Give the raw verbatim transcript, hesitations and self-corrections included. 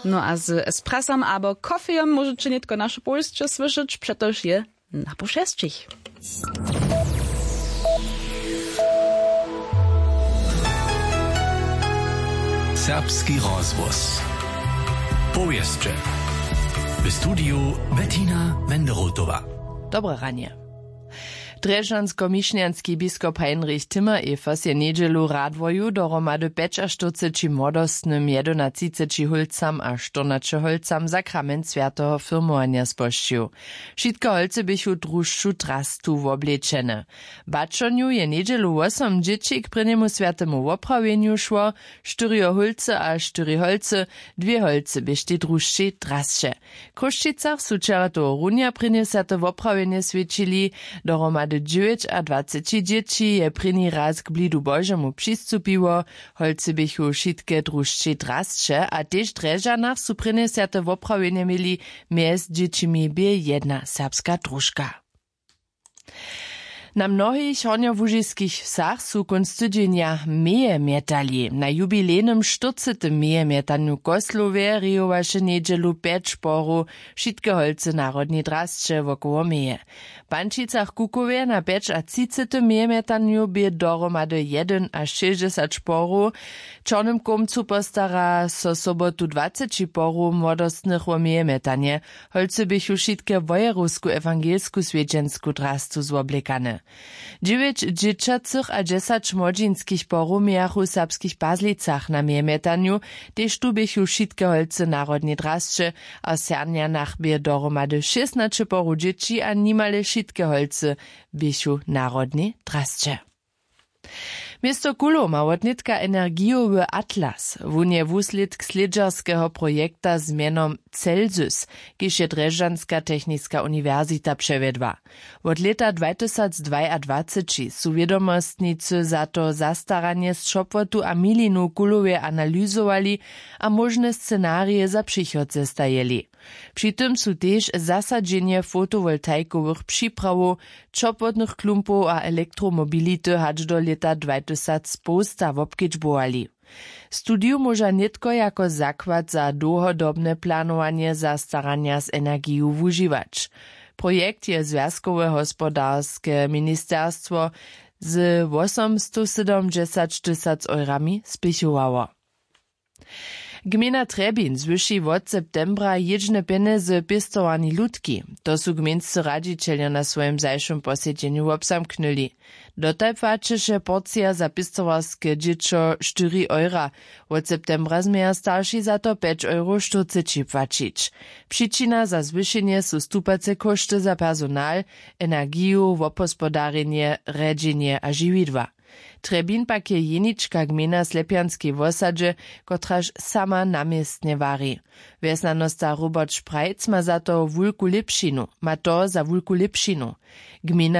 No a z espresam abo kofejom móžeće nětko naše powěsće słyšeć, přetož je na pół šesćich. Serbski rozhłos. Powěsće. W studiju Bettina Wenderotowa. Dobre ranje. Drježdźansko-mišnjanski biskop Heinrich Timmer-Evers je njedźelu w Radworju dohromady pjećaštyrceći młodostnym, jedynatřiceći hólcam a štyrnaće hólcam sakrament swjateho firmowanja spožčił. Wšitke hólcy běchu drušću drastu woblečene. W baćonju je njedźelu wosom dźěći k prěnjemu swjatemu woprawjenju šło, štyrjo hólcy a štyri hólcy, dwě hólcy běštej drušćej drasće. W Chrósćicach su wčera tohorunja prěnje swjate woprawjenje swjećili. Dohromady dźewjećadwaceći dźěći je prěni raz k blidu Božemu přistupiło. Hólcy běchu wšitke drušćej drasće a tež w Drježdźanach su prěnje swjate woprawjenje měli. Mjez dźěćimi bě jedna serbska družka. Na mnohich hornjołužiskich wsach su kónc tydźenja meje mjetali. Na jubilejnym štyrcetym mejemjetanju w Koslowje rejowaše njedźelu pjeć porow, wšitke holcy w narodnej drasće wokoło meje. W Pančicach-Kukowje na pjećatřicetym mejemjetanju bě dohromady jedynašěsćdźesać porow. W Čornym Kołmcu postara so sobotu dwaceći porow młodostnych wo mejemjetanje. Holcy běchu wšitke w wojerowsku ewangelsku swjedźensku drastu zwoblekane. Dźewjeć dźěćacych a dźesać młodźinskich porow mějachu w Serbskich Pazlicach na mejemjetanju. Tež tu běchu wšitke holcy w narodnej drasće. A w Sernjanach bě dohromady šěsnaće porow dźěći a nimale wšitke holcy běchu w narodnej drasće. Město Kulow ma wotnětka energijowy atlas. Wón je wuslědk slědźerskeho projekta z mjenom Celsus, kiž je Drježdźanska techniska uniwersita přewjedła. Wot lěta dwatysacdwajadwaceći su wědomostnicy za to zastaranje z Ćopłotu a Milinu w Kulowje analyzowali a móžne scenarije za přichod zestajili. Při tym su tež zasadźenje fotowoltaikowych připrawow, ćopłotnych klumpow a elektromobility hač do lěta dwatysacpołsta wobkedźbowali. Studiju móža nětko jako zakład za dołhodobne planowanje zastaranja z energiju wužiwać. Projekt je zwjazkowe hospodarske ministerstwo z wosomstosydomdźesaćtysac eurami spěchowało. Gmejna Trjebin zwyši wot septembra jědźne pjenjezy pěstowarni lutki. To su gmejnscy radźićeljo na swojim zašłym posedźenju wobzamknyli. Dotal płaćeše porcija za pěstowarske dźěćo štyri eura. Wot septembra změja starši za to pjeć euro štyrceći płaćić. Přičina za zwyšenje su stupace kóšty za personal, energiju, wobhospodarjenje, rjedźenje a žiwidła. Trjebin pak je jenička gmejna w Slepjanskej wosadźe, kotraž sama na městnje wari. Wjesnjanosta Robert Šprajc ma za to wulku lěpšinu, ma to za wulku lěpšinu. Gmejna